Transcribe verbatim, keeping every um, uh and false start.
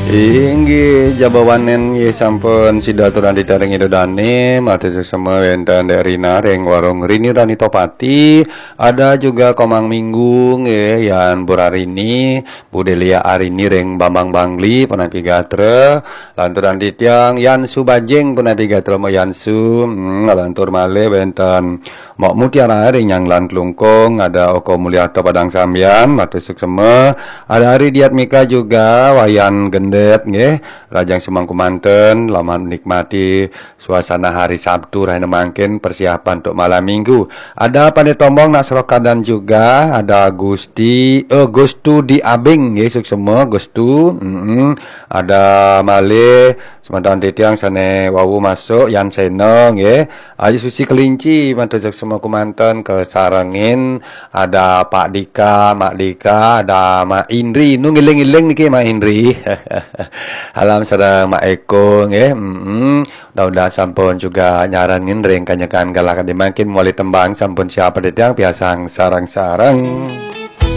Inggih, jabawanen nggih sampun sida aturang titiang ring Ida Dane, matur suksma wenten Dek Rina ring Warung Rini Rani Topati, ada juga Komang Minggu nggih, Yan Burarini, Bu Delia Arini ring Bambang Bangli, punapi gatra, lanturang titiang Yan Subajing, punapi gatra Ma Yansu, hmm, lantur malih wenten Mok Mutiara ring Nyanglan Klungkung, ada Oko Mulyata Padang Sambian, matur suksma, ada Ari Diatmika juga, Wayan Gendet nggih, rahajeng semeng kemanten, selamat menikmati suasana hari Sabtu rahina mangkin, persiapan untuk malam Minggu. Ada Pandit Tombong nak serokadan juga, ada Gusti, eh, Gustu di Abing nggih, suksma Gustu. Mm-mm. Ada malih semeton titiang sane wau masuk, Yan Sena nggih. Ayu Susi Kelinci, matur suksma kemanten, kasarengin ada Pak Dika, Mak Dika, ada Mak Indri. Nu ngiling-iling niki Mak Indri. Alam sareng Mak Eko nggih. Mm-mm. Mudah-mudahan sampun juga nyarengin ring kanyekan galah kadi mangkin, mawali tembang sampun siap titiang, piarsang sareng-sareng.